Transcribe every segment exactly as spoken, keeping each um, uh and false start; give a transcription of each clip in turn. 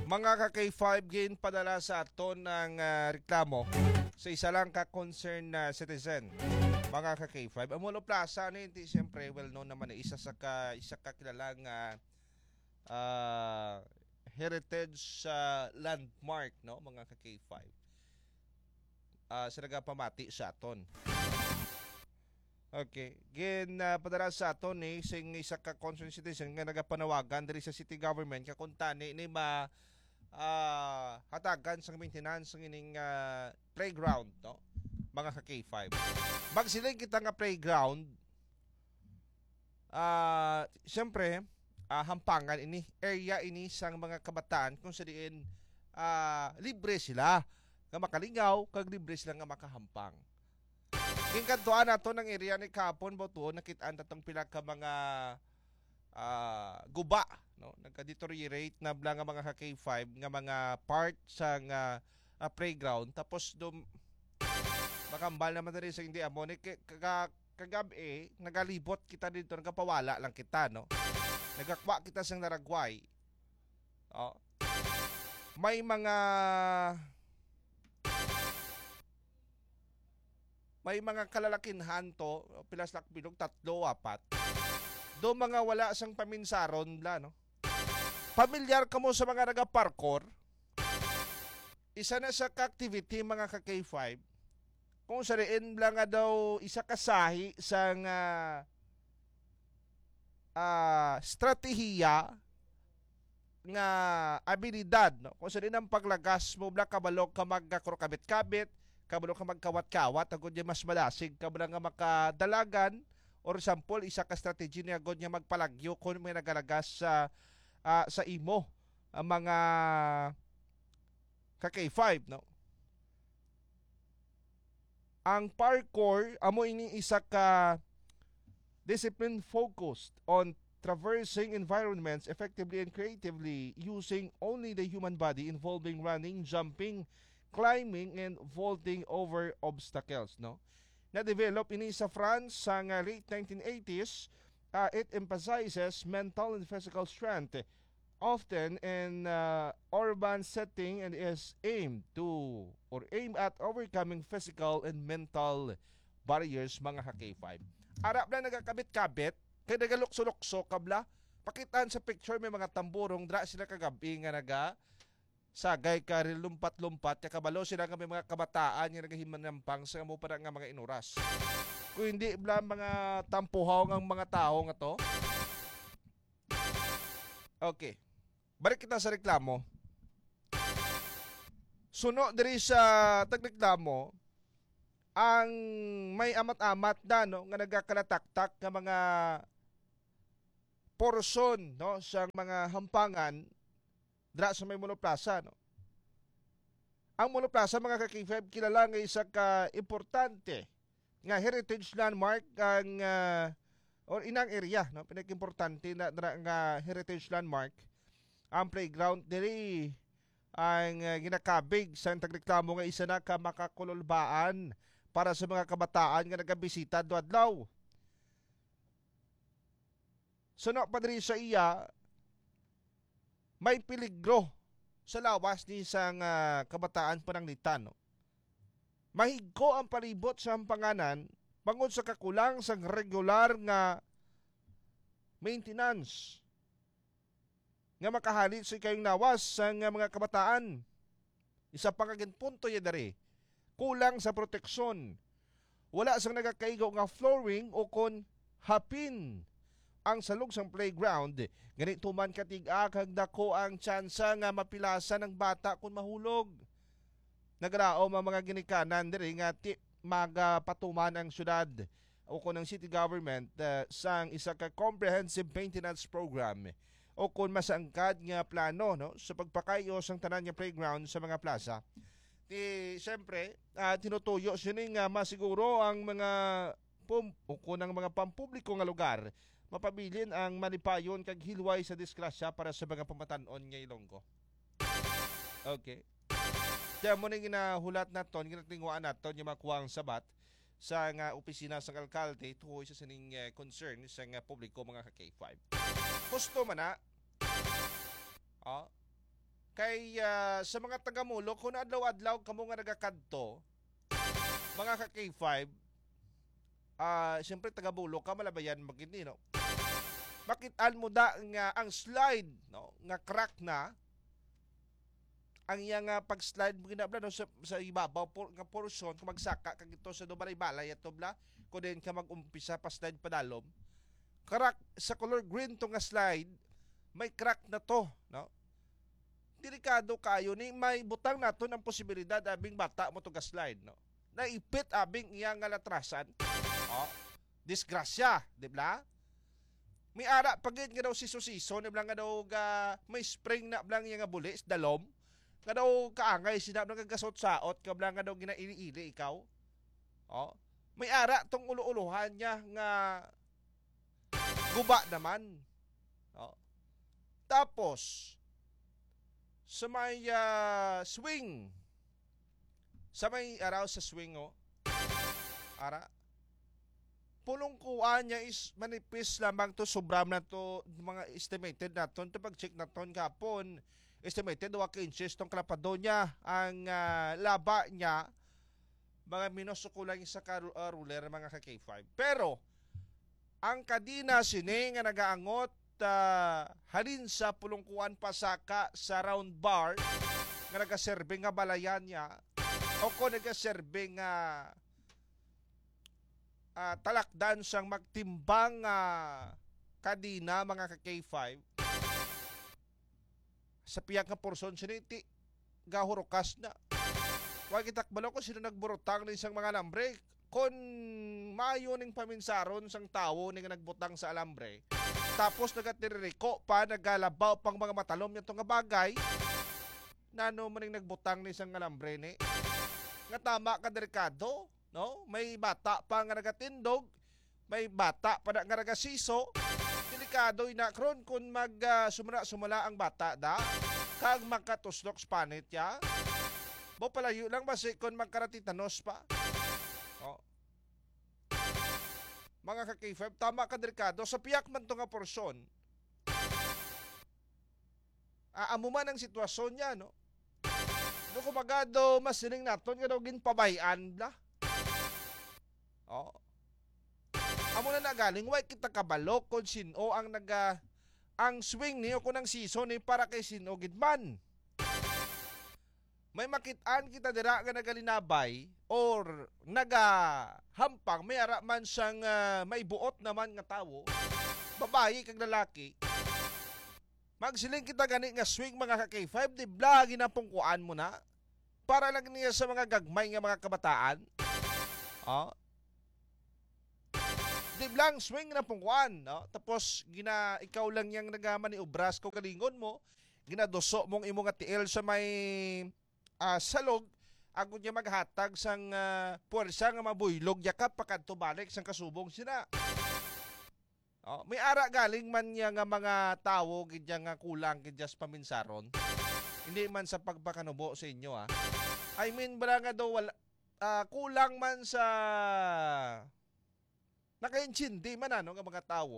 Mga ka K five, ginpadala sa aton ang, ah, reklamo sa isa lang ka concerned na citizen. Mga ka K five, ang Molo Plaza, ano yun? Di, siyempre, well known naman, eh, isa sa ka, isa ka kilalang, ah, ah, heritage, ah, landmark, no? Mga ka K five. Ah, sa nagapamati sa aton. Okay. Gin, ah, padala sa aton ni sing isa ka concerned citizen nga nagapanawagan diri sa city government nga kung tani ni ma, ah, hatagan sang maintenance ng ining, ah, playground, no? Mga ka K five. Magsiling kita nga playground, ah, siyempre, ah, hampangan ini, area ini sang mga kabataan kung sa diin, ah, libre sila nga makalingaw kag libre sila nga makahampang. Ginkantuan nato ng area ni kahapon, butuon nakit-an tatong pila ka mga, ah, guba, no? Nagka-deteriorate na bala nga mga ka K five nga mga part sa nga, ah, playground. Tapos dum-, makambal naman diri sa hindi amo ni ka-, kaga-, kagab-i, nagalibot kita dito, nagapawala lang kita, no? Nagakwa kita sang naragway. Oh. May mga may mga kalalakinhan to, pila sila bilog, tatlo, apat. Do mga wala sang paminsaron bla, no? Pamilyar kamo sa mga naga-parkour? Isa na sa ka-activity, mga ka K five, kung sa diin bla nga daw isa ka sahi sa nga, ah, stratehiya nga abilidad, no? Kung sa diin ang paglagas mo bla, kabalo ka magkakurkabit-kabit, kabalo ka magkawat-kawat, agod niya mas madasig ka bla nga makadalagan, or sample, isa ka strategy niya agod niya magpalagyo kung may nagalagas sa, ah, sa imo, ang mga ka K five, no? Ang parkour, amo ini isa ka discipline focused on traversing environments effectively and creatively using only the human body, involving running, jumping, climbing, and vaulting over obstacles, no? Na-develop ini sa France sa nga late nineteen eighties. Ah, it emphasizes mental and physical strength, often in, uh, urban setting, and is aimed to or aimed at overcoming physical and mental barriers, mga ka K five. Ara bla nagakabit-kabit, kay nagalukso-lukso ka bla. Pakitaan sa picture, may mga tamburong, dra sila kagabi nga naga sagay ka rin lumpat-lumpat, kay kabalo sila nga may mga kabataan nga nagahimanampang sa amo pa nga mga inuras. Kung hindi bla mga tampuhaw ang mga tao nga to. Okay. Balik kita sa reklamo. Suno diri sa tagreklamo, ang may amat-amat na, no, nga nagakalataktak nga mga porson, no, sa mga hampangan dra sa may Molo Plaza, no. Ang Molo Plaza, mga ka K five, kilala nga isa ka importante nga heritage landmark ang, ah, or inang area, no, pinakaimportante na, na nga heritage landmark ang playground diri, ang, ah, ginakabig sa tagreklamo nga isa na ka makakululbaan para sa mga kabataan nga nagabisita adlaw-adlaw. Suno pa diri sa iya, may peligro sa lawas ni sang, ah, kabataan pananglitan, no? Mahigko ang palibot sa hampanganan bangod sa kakulang sang regular nga maintenance nga makahalit sa ikayong lawas sang mga kabataan. Isa pa nga ginpunto niya diri, kulang sa proteksyon. Wala sang nagakaigo nga flooring o kon hapin ang salog sang playground. Gani, tuman katig-a kag dako ang tsansa nga mapilasan ang bata kon mahulog. Nagraom ang mga ginikanan diri nga ti-, magapatuman ang syudad o kon ang city government, ah, sang isa ka comprehensive maintenance program o kon masangkad nga plano, no, sa pagpakayo sang tanan nga playground sa mga plaza. Ti, siyempre, ah, tinutuyo sini nga masiguro ang mga pum-, o kon ang mga pampubliko nga lugar mapabilin ang malipayon kag hilway sa disgrasya para sa mga pamatan-on nga Ilonggo. Okay. Kaya mo na ginahulat naton, ginatinguhaan naton yung makuha ang sabat sa nga opisina sang alkalde tuhoy sa sining, eh, concern sa nga publiko, mga ka K five. Husto man na. Oh. Kay Ay, ah, sa mga taga-Molo, kung adlaw-adlaw kamo nga nagakadto, mga ka-K five, ah, siyempre, taga-Molo ka, malabayan mo gid ni, no? Makit-an mo da nga ang slide, no, nga crack na, ang iya nga pag-slide mo ginabla, no, sa, sa ibabaw por-, nga portion, kung magsaka ka gito sa do balay-balay ato bla, kung diin ka mag-umpisa pa slide padalom, crack sa color green to nga slide, may crack na to, no? Delikado kayo ni, may butang naton ang posibilidad abing bata mo to ga-slide, no? Naipit abing iya nga latrasan. Oh, disgrasya, di ba? May ara pa gid nga daw siso-siso, ni bla nga daw ga, may spring na bla nga buli sa dalom. Nga daw kaangay sina bla nga gasot-saot, ka bla nga daw ginaili-ili ikaw. Oh, may ara tong ulo-ulohan niya nga guba naman. Oh. Tapos, sa may, ah, swing, sa may araw sa swing, oh, ara, pulong kuan niya is manipis lamang to, sobra man to, mga estimated naton, to pag-check naton gapon, estimated, wa ka inches tong kalapado niya, ang, ah, laba niya, mga minus o kulang isa ka ru-, ah, ruler, mga ka-K five. Pero, ang kadina sini nga nagaangot, ah, halin sa pulong kuan pasaka sa round bar nga nagaserve nga balayan niya o kung nagaserve nga, ah, talakdan sang magtimbang nga kadina, mga ka-K five, sa pihak nga porson sini ti gahurukas na. Wa kita kabalo kung sino nagburutang ni sang mga alambre. Kon maayo ning paminsaron sang tawo ni nga nagbutang sa alambre, tapos nagatiririko pa, nagalabaw pang mga matalom niya to nga bagay, nano man ning nagbutang ni sang alambre ni? Nga tama ka delikado, no? May bata pa nga nagatindog, may bata pa na nga nagasiso. Delikado ina kron kung mag, ah, sumala-sumala ang bata da, kag makatuslok sa panit ya. Bo, palayo lang basi kung magkaratitanos pa. Oh. Mga ka-K five, tama ka delikado. Sa piyak man to nga porsyon, ah, amo man ang sitwasyon niya, no? Do kumbaga do, mas siling naton nga daw ginpabay-an bla. Oh. Amo na na galing, way kita kabalo kung sin-o ang naga-, ang swing ni o kung ang season ni para kay sin-o gid man. May makit-an kita dira nga nagalinabay or nagahampang, may ara man sang, ah, may buot naman nga tawo, babayi kag lalaki. Magsiling kita gani nga swing, mga ka-K five, di bla ginapungkuan mo na? Para lang niya sa mga gagmay nga mga kabataan. Oh. Di bla ang swing na pungkuan, no? Tapos gina, ikaw lang yang nagamaniobras ko kalingon mo, ginaduso mong imo nga tiil sa may, ah, salog, agud niya maghatag sang, ah, puwersa nga mabuylog yakap pakadto balik sang kasubong sina. Oh, may ara galing man niya nga mga tawo gid niya nga kulang gid niya sa paminsaron. Hindi man sa pagpakanubo sa inyo, ah. I mean, bala nga daw wala, ah, kulang man sa nakaintindi man, ano, nga mga tawo.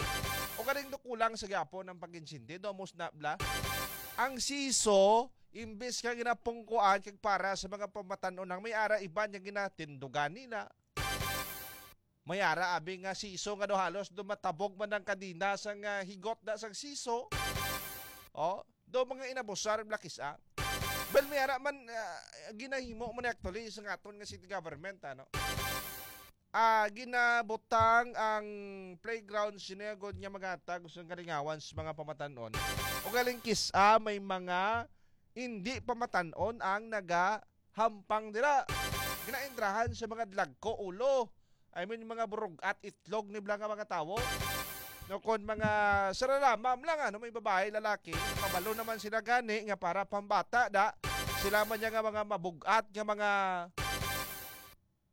O galing do kulang sa gyapon ang pag-intindi, do, amos na bla. Ang siso, imbes nga ginapungkuan kag para sa mga pamatan-on, ang may ara iban nga ginatindugan nila. May ara abi nga siso nga do halos do matabog man ang kadina sang, ah, higot na sang siso. Oh, do mga inabusar, blakis, ah. Well, may ara man, ah, ginahimo man actually sa aton nga city government, ano. Ah, ginabutang ang playground sinegod nga magatag sa kalingawan sa mga pamatan-on. O galing kis-a may mga hindi pamatan-on ang naga hampang dira. Ginaentrahan sa mga dlagko ulo. I mean, mga burug-at itlog ni bla nga mga tawo. No, kon mga sararamam lang, ano, may babae, lalaki, kabalo naman sila gani nga para pambata da. Sila man niya nga mga mabug-at nga mga,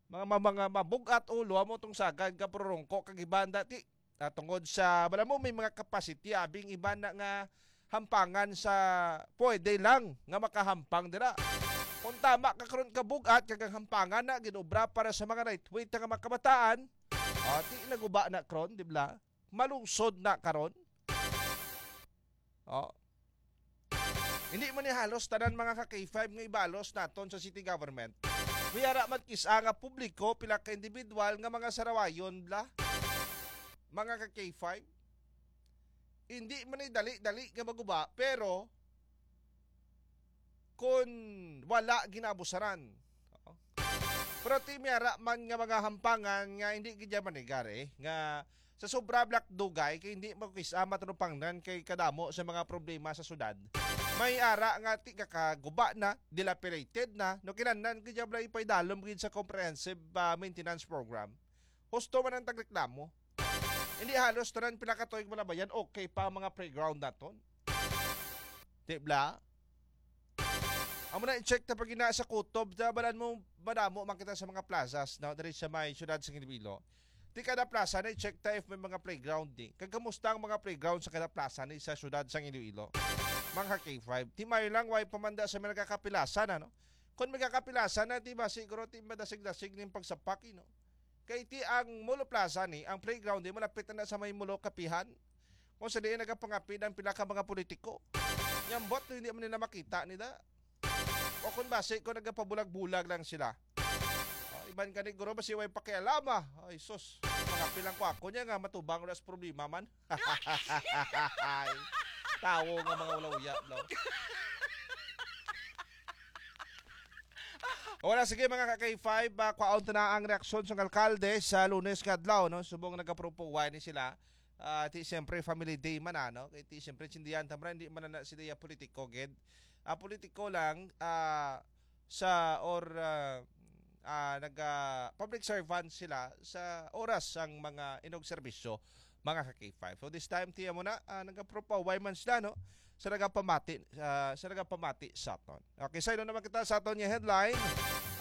mga, mga, mga mabug-at ulo, amo tong sagad nga pururungko kag iban da ti. Ah, tungod sa, bala mo, may mga capacity, abing iba na nga hampangan sa pwede lang nga makahampang dira. Kung tama ka karon ka bug-at kag ang hampangan na ginobra para sa mga lightweight nga mga kabataan, ah, ti naguba na karon, di bla? Malusod na karon. Oh. Hindi man ni halos tanan, mga ka K five, nga ibalos naton sa city government. May ara man kis-a nga publiko, pila ka individual nga mga sarawayon bla, mga ka K five. Hindi man ni dali-dali nga maguba, pero kun wala ginabusaran. Oo. Pero ti may ara man nga mga hampangan nga hindi gid niya manigar, eh, nga sa sobra bla ka dugay kay hindi makis-a matulupangnan kay kadamo sa mga problema sa syudad. May ara nga ti kakaguba na, dilapidated na, no, kinahanglan gid niya bla ipaidalom gid sa comprehensive, ah, maintenance program. Husto man ang tagreklamo. Hindi halos tanan pila ka tuig malabayan, okay pa ang mga playground naton. Di bla? Amo na, i-check ta pag ina sa kutob, ta balan mo, madamo man kita sa mga plazas, no? Diri sa may siyudad sa Iloilo. Di kada plaza na i-check ta if may mga playground di. Kag kamusta ang mga playground sa kada plaza ni sa siyudad sa Iloilo? Mga K five, di mayo lang, way pamanda sa mga nagkakapilasan, ano? Kung may kakapilasan na, di ba, siguro, di madasig-dasig ning pagsapak, eh, no? Kay ti ang Molo Plaza ni, ang playground di malapit na sa may Molo Kapihan. Kung sa diin nagapangapid ang pila ka mga politiko. Nyambot hindi man nila makita nila. O kung basi kung nagapabulag-bulag lang sila. O, iban gani guro basi way pakialama. Ay sus, mga pilang ko ako niya nga matubang ras problema man. Ay, tawo nga mga ulawya, no? Wala, sige, mga ka K five, ah, kwaon ta na ang reaksyon sang alkalde sa Lunes nga adlaw, no? Subong nagapropo, why ni sila? Ah, ti siyempre family day man, ano? Kay ti siyempre sindihan ta man, hindi man na sila ya politiko gid. Ah, politiko lang, ah, sa or, ah, ah, naga public servant sila sa oras sang mga inogserbisyo, mga ka K five. So this time, tiya mo na, ah, nagapropa, why man sila, no? Sa nagapamati, ah, sa nagapamati sa aton. Okay, sa naman kita sa aton nga headline.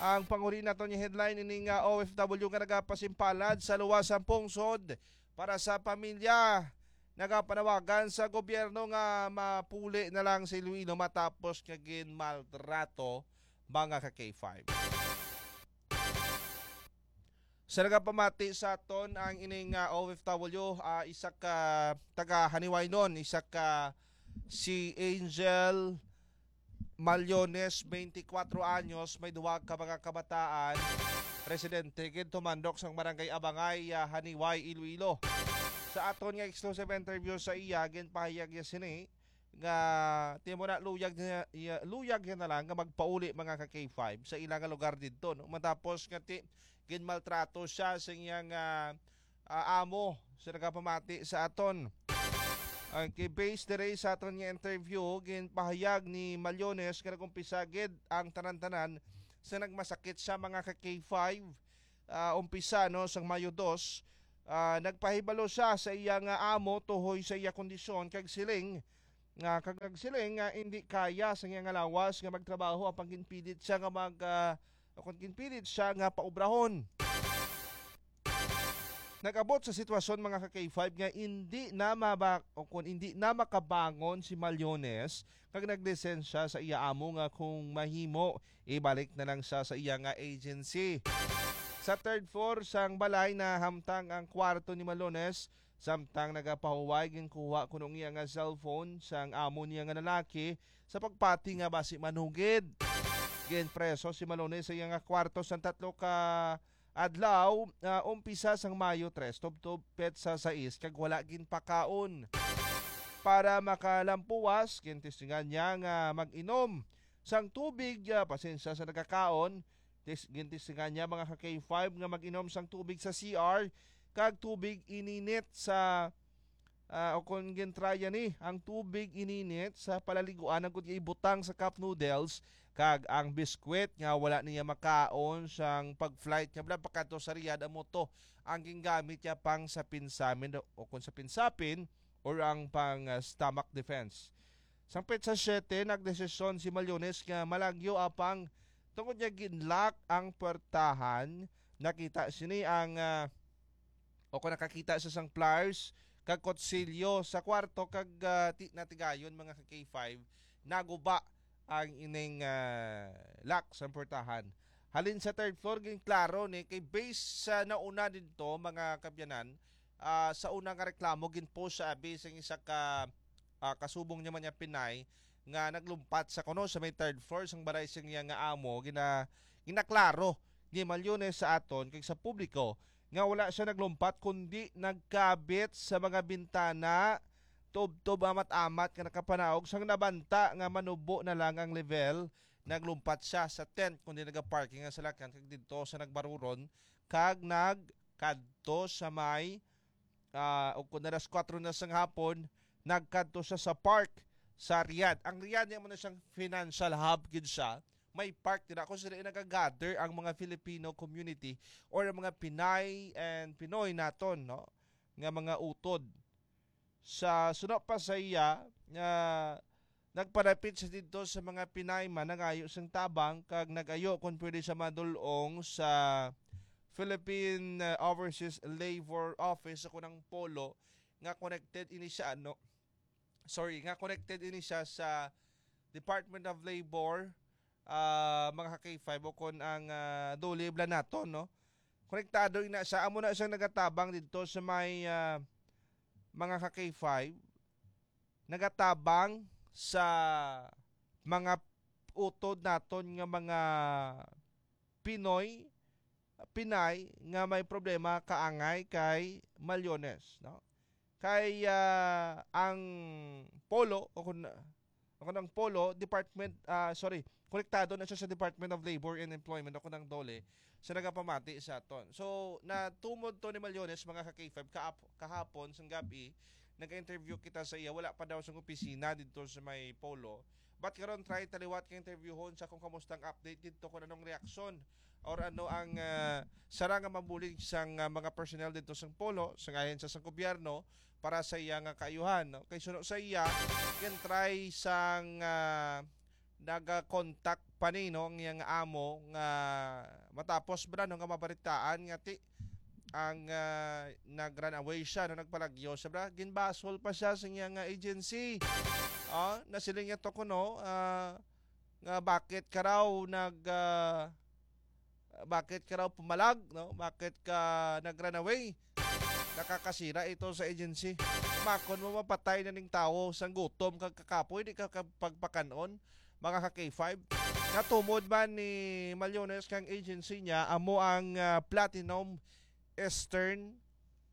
Ang panguri naton nga headline, ini nga O F W nga nagapasimpalad sa luwas sang pungsod para sa pamilya. Nagapanawagan sa gobyerno nga mapuli na lang si Iloilo matapos nga ginmaltrato, mga ka K five. Sa nagapamati sa aton ang ining, ah, O F W, ah, isa ka taga Haniwaynon, isa ka si Angel Maliones, twenty-four anyos, may duwa ka mga kabataan, residente gid tumandok sang Barangay Abangay, ah, Haniway, Iloilo. Sa aton nga exclusive interview sa iya, ginpahayag niya sini nga timo na luyag niya, iya, luyag niya na lang nga magpauli, mga ka K five, sa ila nga lugar didto, no? Matapos nga ti-, ginmaltrato siya sa iyang, ah, ah, amo sa nagapamati sa aton. Okay, based diri sa aton nga interview, ginpahayag ni Maliones nga nag-umpisa gid ang tanan-tanan sa nagmasakit sa mga ka K five, ah, umpisa, no, sang Mayo dos, ah, nagpahibalo siya sa iya nga amo tuhoy sa iya kondisyon kag siling nga, kag nagsiling nga hindi kaya sa iya nga lawas nga magtrabaho apang ginpilit siya nga mag, ah, o kung ginpilit siya nga paubrahon. Nag-abot sa sitwasyon, mga ka K five, nga hindi na maba-, o kung hindi na makabangon si Maliones, kag naglisensya sa iya amo nga kung mahimo, ibalik na lang siya sa iya nga agency. Sa third floor sang balay, nahamtang ang kwarto ni Maliones, samtang nagapahuway, ginkuha kuno ang iya nga cellphone sang amo niya nga lalaki sa pagpati nga basi manugid. Ginpreso si Malone sa iya nga kwarto sang tatlo ka adlaw, ah, umpisa sang Mayo tres tubtob petsa sais, kag wala ginpakaon. Para makalampuwas, gintestingan niya nga mag-inom sang tubig, ah, pasensya sa nagakaon. Tis-, gintestingan niya, mga ka K five, nga mag-inom sang tubig sa C R kag tubig ininit sa, ah, o kon gintraya ni ang tubig ininit sa palaliguan agud nga ibutang sa cup noodles kag ang biskwit nga wala niya makaon sang pag-flight niya bala pakadto sa Riyadh. Amo to ang gingamit niya pang sapin-samin o kon sapin-sapin or ang pang, ah, stomach defense. Sang petsa siyete, nagdesisyon si Maliones nga malagyo apang tungod niya ginlock ang puwertahan, nakita sini ang, ah, o kung nakakita sa sang pliers kag kutsilyo sa kwarto kag, ah, ti-, natigayon, mga ka K five, naguba ang ining, ah, lock sa puwertahan. Halin sa third floor, ginklaro ni kay based sa nauna didto, mga kabyanan, ah, sa una nga reklamo, ginpost siya abi sang isa ka, ah, kasubong niya man niya Pinay nga naglumpat sa kuno sa may third floor sang balay sang iya nga amo, gina-, ginaklaro ni Malyones sa aton kag sa publiko nga wala siya naglumpat kundi nagkabit sa mga bintana, tubtob amat-amat nga nakapanaog. Sang nabanta nga manubo na lang ang level, naglumpat siya sa tent kundi nagaparking ang salakyan kag didto sa nagbaruron kag nagkadto sa may, ah, ug kun alas kuwatro na sang hapon, nagkadto siya sa park sa Riyadh. Ang Riyadh, niya mo na siyang financial hub gid siya. May park dira kung sila nagagather ang mga Filipino community or ang mga Pinay and Pinoy naton, no, nga mga utod. Sa suno pa sa iya, nga nagpalapit siya didto sa mga Pinay man nangayo sang tabang kag nagayo kung pwede siya madul-ong sa Philippine, uh, Overseas Labor Office sa kunang Polo nga connected ini siya, no? Sorry, nga connected ini siya sa Department of Labor, ah, mga ka-K five, o kon ang, ah, DOLE bala naton, no? Konektado ina siya, amo na siyang nagatabang didto sa may, ah, mga ka-K five, nagatabang sa mga utod naton nga mga Pinoy, Pinay nga may problema kaangay kay Malyones, no? Kay, ah, ang Polo, o kun, o kun ang Polo, department, ah, sorry, konektado na siya sa Department of Labor and Employment, o kun ang DOLE, sa nagapamati sa aton. So, natumod to ni Malyones, mga ka-K five, kaap-, kahapon, sang gabi, nag-interview kita sa iya, wala pa daw sa opisina dito sa may Polo. But karon, try taliwat ka interviewon sa kung kamusta ang update dito, kung anong reaksyon or ano ang, ah, sara nga mabulig sang, ah, mga personnel dito sa Polo, sang ahensya sa gobyerno para sa iya nga kaayuhan, no? Kay suno sa iya, can try sang, ah, naga-contact pa ni, no, ang iyang amo nga matapos bala, no, nga mabaritaan nga ti ang, ah, nag-run away siya, no, nagpalagyo siya bala, ginbasol pa siya sa iya nga agency. Ah, nasiling niya to kuno, ah, nga bakit ka raw nag, ah, bakit ka raw pumalag, no? Bakit ka nag-run away? Nakakasira ito sa agency. Makon mo mapatay na ning tawo sang gutom kag kakapoy, di ka ka-, pagpakan-on, mga ka-K five. Natumod man ni Malyones kang agency niya, amo ang, ah, Platinum Eastern,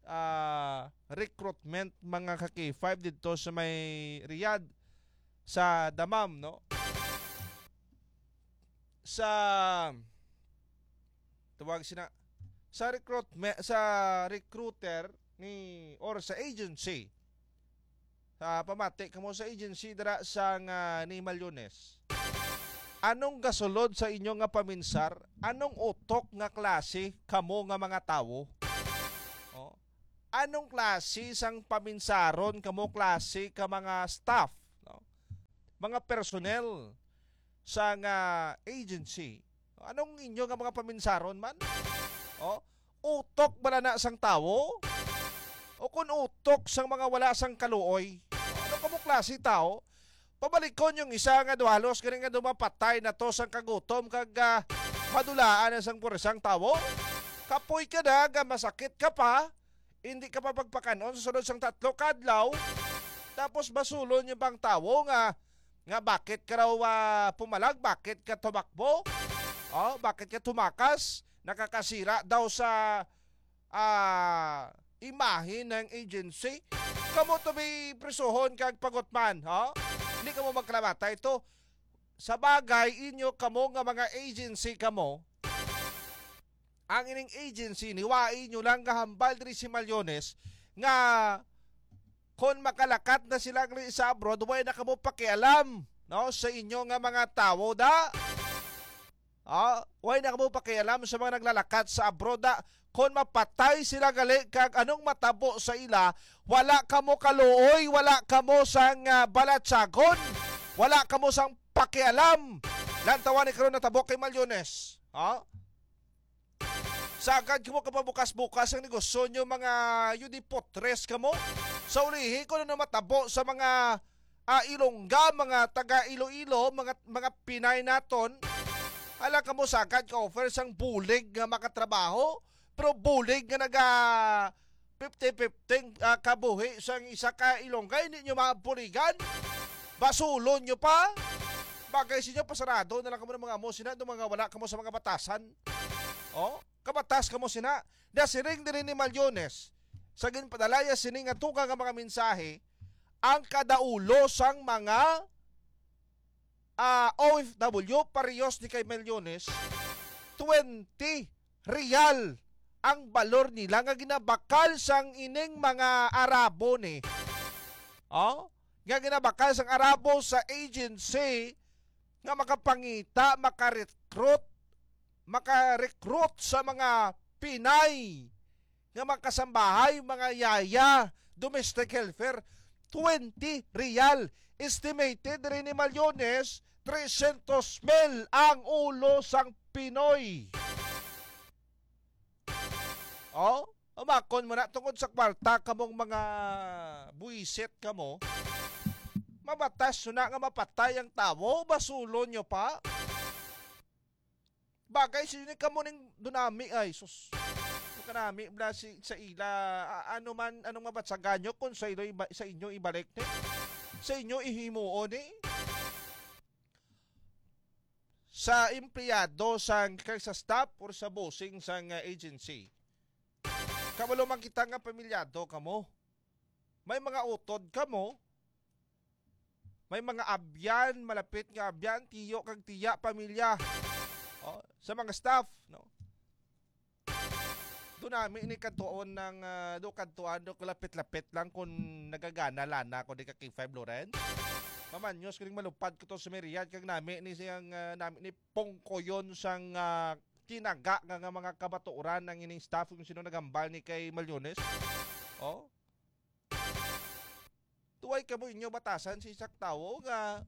ah, Recruitment, mga ka-K five, dito sa may Riyadh, sa Dammam, no? Sa, tawag sina, sa recruitment, sa recruiter ni, or sa agency, sa pamati kamo sa agency dira sang, ah, ni Malyones. Anong gasulod sa inyo nga paminsar? Anong utok nga klase kamo nga mga tawo? Oh. Anong klase sang paminsaron kamo klase ka mga staff, no? Mga personnel sang agency? Anong inyo nga mga paminsaron man? Oh, utok bala na sang tawo? O kun utok sang mga wala sang kaluoy? Ano kamo klase tawo? Pabalikon yung isa nga duhalos gani nga dumapatay na to sang kagutom kag, ah, madulaan na sang puresang tawo. Kapoy ka na, ga masakit ka pa, hindi ka pa pagpakanon sa sunod sang tatlo ka adlaw. Tapos basulon yung bang tawo nga, nga bakit ka raw, ah, pumalag, bakit ka tumakbo? Oh, bakit ka tumakas? Nakakasira daw sa, ah, imahe ng agency. Kamo to may prisuhon kag pagutman, ha? Hindi kamo magkalamatay to. Sa bagay, inyo kamo nga mga agency kamo, ang ining agency, niwai nyo lang gahambal diri si Malyones nga kon makalakat na sila diri sa abroad, way na kamo pakialam, no, sa inyo nga mga tawo da. Ah, way na kamo pakialam sa mga naglalakat sa abroad, ah. Kon mapatay sila gali kag anong matabo sa ila, wala kamo kaluoy, wala kamo sang, ah, balatyagon, wala kamo sang pakialam. Lantawan ni karon natabo kay Malyones. Ha? Sagad kamo kapabukas-bukas ang negosyo nyo, mga yudipotres kamo. Sa ulihi, kung ano matabo sa mga ah, Ilongga, mga taga Iloilo, mga, mga Pinay naton, ala kamo sagad ka-offer sang bulig nga makatrabaho, pero bulig nga naga fifty fifty, ah, kabuhi sang isa ka Ilongga, hindi nyo mabuligan. Basulon nyo pa? Bagay sa inyo, pasarado na lang kamo ng mga amo sina, do mga wala kamo sa mga batasan. Oh, kabatas kamo sina. Nasiring diri ni Malyones, sa ginpadalaya sini nga dugang nga mga mensahe, ang kada ulo sang mga, ah, O F W, parehas ni kay Malyones, twenty real ang balor nila nga ginabakal sang ining mga Arabo ni. Oh? Nga ginabakal sang Arabo sa agency nga makapangita, makarecruit, makarecruit sa mga Pinay nga makasambahay, mga yaya, domestic helper, twenty real. Estimated rin ni Malyones, tresyentos mil ang ulo sang Pinoy. Oh, umakon mo na tungod sa kwarta kamong mga buwisit kamo. Mabatas na nga mapatay ang tawo, basulon nyo pa. Bagay sa inyo kamo ning dunami ay, sus. Kanami bla si, sa ila, a- ano man, anong mabatsagan nyo kung sa inyo, iba- sa inyo ibalik ni? Sa inyo ihimuon ni? Sa empleyado sang, kag sa staff or sa bossing sang, ah, agency. Kabalo man kita nga pamilyado kamo. May mga utod kamo. May mga abyan, malapit nga abyan, tiyo kag tiya, pamilya. Oh, sa mga staff, no? Do nami ni kadtuon ng, ah, do kadtuan, do kalapit-lapit lang kung nagagana lana ko di ka K five Lawrence. Mamanyos kining malupad ko to sa Merian kag nami ni siyang, ah, nami ni pungkoyon sang, ah, kinaga nga, nga mga kabaturan ang ining staff kung sino nagambal ni kay Malyones. Oh? Tuway kamo inyo batasan sa isak tawo nga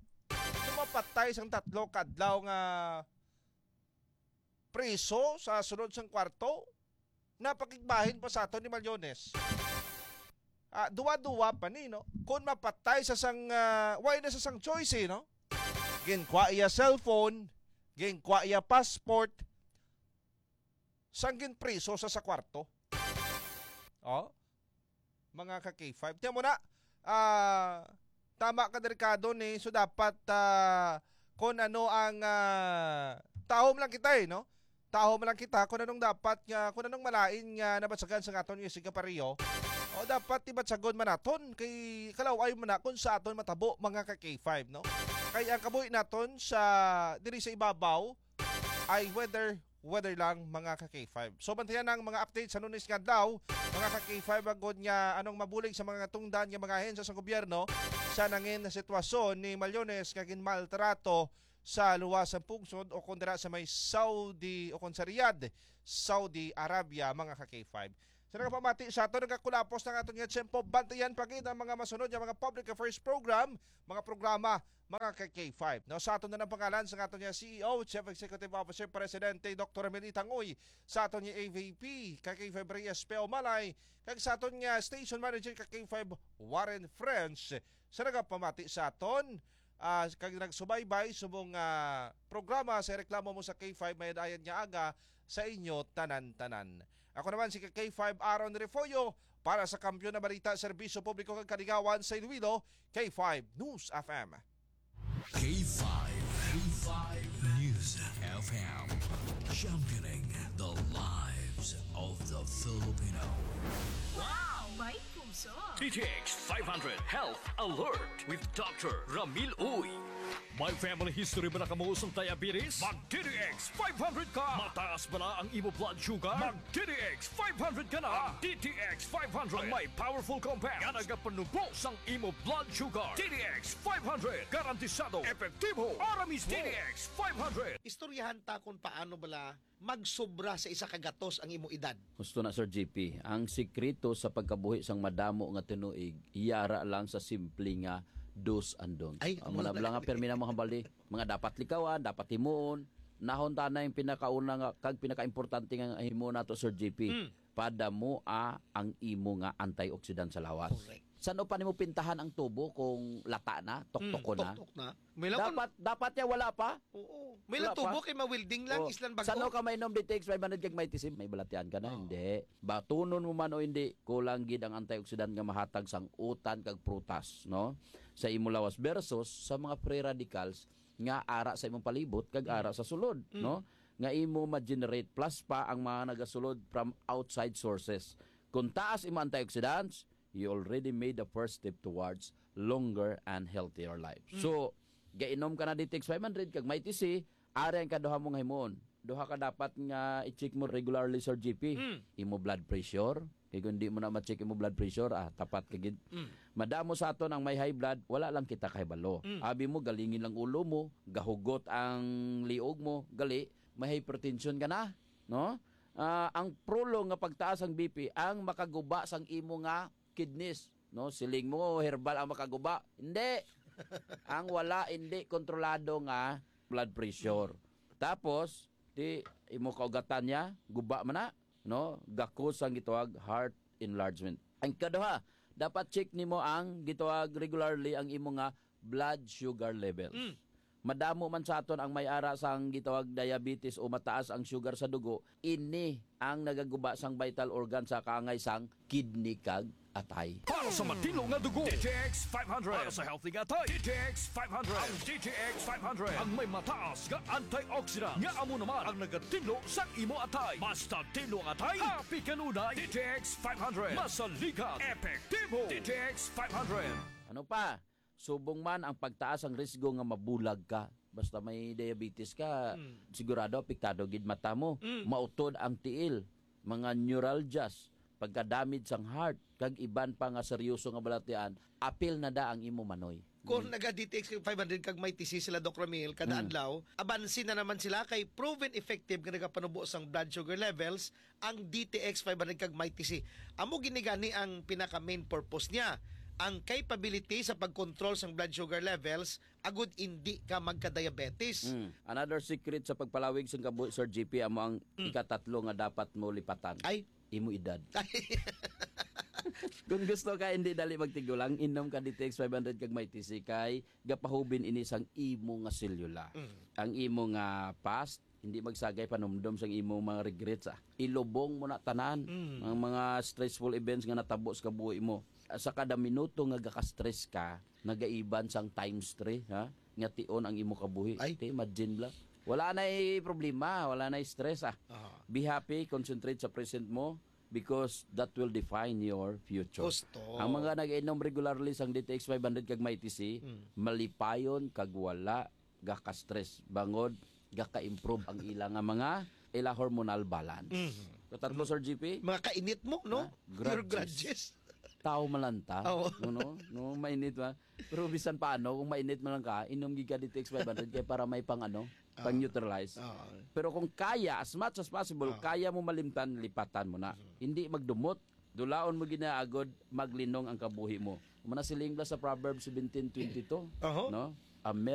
lumapatay sang tatlo kadlaw nga priso sa sulod sang kwarto, napakigbahin pa sa aton ni Malyones. Ah, duwa-duwa pa ni, no? Kung mapatay sa sang, ah, why na sa sang choice, eh, no? Ginkwa iya cellphone, ginkwa iya passport, sang ginpriso sa sa kwarto. Oh, mga ka K five. Tiyan mo na, ah, tama ka, delikado ni. So, dapat, ah, kung ano ang, ah, tahom lang kita, eh, no? Tahom lang kita kung anong dapat nga, kung anong malain nga nabatsagan sa aton nga sige pareho. O dapat ibatsagon man naton kay kalaw-ay man na kung sa aton matabo, mga ka K five, no? Kay ang kabuhi naton sa diri sa ibabaw ay weather, weather lang, mga ka K five. So, bantayan ang mga update sa Lunes nga adlaw, mga ka K five, agod nga anong mabulig sa mga tungdan nga mga ahensya sa gobyerno sa nangin na sitwasyon ni Malyones nga ginmaltrato sa luwas sang pungsod o kon dira sa may Saudi o kon sa Riyadh, Saudi Arabia, mga ka K five. Sa nagapamati sa aton, nagakulapos na ang aton nga tiyempo. Bantayan pa gid ang mga masunod nga mga public affairs program, mga programa, mga ka K five. No, sa aton na ng pangalan sa aton nga C E O, Chief Executive Officer, Presidente, Doktor Ramil Itangoy, sa aton nga A V P, ka K five Reyes Peo Malay, kag sa aton nga station manager, ka K five Warren French, sa nagapamati sa aton, ah, kag nagsubaybay subong, ah, programa sa reklamo mo sa K five, may dayan nga aga sa inyo tanan-tanan. Ako naman si ka K five Aaron Refollo para sa Kampiyon na Balita, Serbisyo Publiko kag Kaligawan sa Iloilo, K five News F M. K five, K five News F M, championing the lives of the Filipino. Wow! May puso! D T X five hundred Health Alert with Doctor Ramil Uy. May family history ba na kamo sang diabetes? Mag D T X five hundred ka! Mataas ba na ang imo blood sugar? Mag D T X five hundred ka na! Ang D T X five hundred ang may powerful compound nga nagapanubo sang imo blood sugar. D T X five hundred, garantisado, epektibo, ara mismo. D T X five hundred. Istoryahan ta kung paano bala magsobra sa isa ka gatos ang imo edad. Gusto na, Sir J P, ang sikreto sa pagkabuhi sang madamo nga tinuig, yara lang sa simple nga do's and don'ts. Ay, ang amo na mga bala nga bala. Pirmi na mo hambal di, mga dapat likawan, dapat himuon, nahon ta na yung pinakauna nga, kag pinakaimportante nga himo nato, Sir J P. Mm. Padamoa ang imo nga antioxidant sa lawas. Correct. Saan pa nimo pintahan ang tubo kung lata na, tuktok Mm, ko na? Tuktok na. May lang dapat, dapat niya wala pa? Oo. May lang Wala pa? Tubo kay ma-welding lang, Oo. Islan bago. Saan ka mainom D T X five hundred kag may tisim? May balatian ka na? Oo. Hindi. Batunon mo man o hindi, kulang gid ang antioxidant nga mahatag sang utan kag prutas, no? sa imo lawas versus sa mga free radicals nga ara sa imong palibot kag ara sa sulod, no? Nga imo ma-generate, plus pa ang mga nagasulod from outside sources. Kung taas imo antioxidants, you already made the first step towards longer and healthier life. So, gainom ka na D T X five hundred kag Mighty C, ari ang kaduha mo nga himuon. Duha ka dapat nga i-check mo regularly, Sir G P. Imo blood pressure. Kay kung di mo na ma-check imo blood pressure, ah, tapat ka gid. Madamo sa aton ang may high blood, wala lang kita kahibalo. Abi mo, galingin lang ulo mo, gahugot ang liog mo, gali, may hypertension ka na, no? Ah, ang prolong nga pagtaas ang B P ang makaguba sang imo nga kidneys, no? Siling mo, herbal ang makaguba. Hindi. Ang wala, hindi kontrolado nga blood pressure. Tapos, di imo kaugatan niya, guba man na, no? Gakos ang gitawag heart enlargement. Ang kaduha, dapat check nimo ang gitawag regularly ang imo nga blood sugar levels. Madamo man sa aton ang may ara sang gitawag diabetes o mataas ang sugar sa dugo, ini ang nagaguba sang vital organ sa kaangay sang kidney kag atay. Para sa matinlo nga dugo, D T X five hundred. Para sa healthy nga atay, D T X five hundred. Ang D T X five hundred ang may mataas nga antioxidant nga amo naman ang nagatinlo sa imo atay. Basta tinlo ang atay, happy kanunay. D T X five hundred. Masaligan, epektibo. D T X five hundred. Ano pa? Subong man ang pagtaas ang risgo nga mabulag ka. Basta may diabetes ka, sigurado apektado gid mata mo. Mautod ang tiil, mga neuralgias, pagka-damage sang heart, kag iban pa nga seryoso nga balatian, apil na da ang imo manoy. Kung naga-D T X five hundred kag may T C sila, Doc Ramil, kada adlaw, abansi na naman sila kay proven effective nga nagapanubo sang blood sugar levels ang D T X five hundred kag may T C. Amo gini gani ang pinaka main purpose niya, ang capability sa pag-control sang blood sugar levels agud indi ka magka-diabetes. Mm. Another secret sa pagpalawig sang kabuhi, Sir G P, amo ang ikatatlo nga dapat mo lipatan. Ay, imo edad. Kung gusto ka hindi dali magtigulang, inom ka D T X five hundred kag may T C kay gapahubin ini sang imo nga selula. Ang imo nga past, hindi magsagay panumdom sang imo mga regrets, ah. Ilubong mo na tanan ang mga stressful events nga natabo sa kabuhi mo. Sa kada minuto nga gaka-stress ka, nagaiban sang times three, ha? Nga tion ang imo kabuhi. Ay. Te, imagine bala. Wala na'y problema, wala na'y stress, ah. Aha. Be happy, concentrate sa present mo, because that will define your future. Gusto. Ang mga nag-inom regularly sang D T X five hundred kag may T C, malipayon kag wala gaka-stress. Bangod, gaka-improve ang ila nga mga, ila hormonal balance. Mhm. Katatlo, Sir G P? Mga kainit mo, no? Ha? Your grudges. Grudges. Tao malanta. Oo. No, no? No, mainit ba? Pero bisan paano, kung mainit man lang ka, inom gid ka D T X five hundred kay para may pang ano, pang neutralize. Oo. Pero kung kaya, as much as possible, kaya mo malimtan, lipatan mo na. Hindi magdumot. Dulaon mo ginaagod, maglinong ang kabuhi mo. Amo na siling bala sa Proverbs seventeen twenty-two, Oho. no? A merry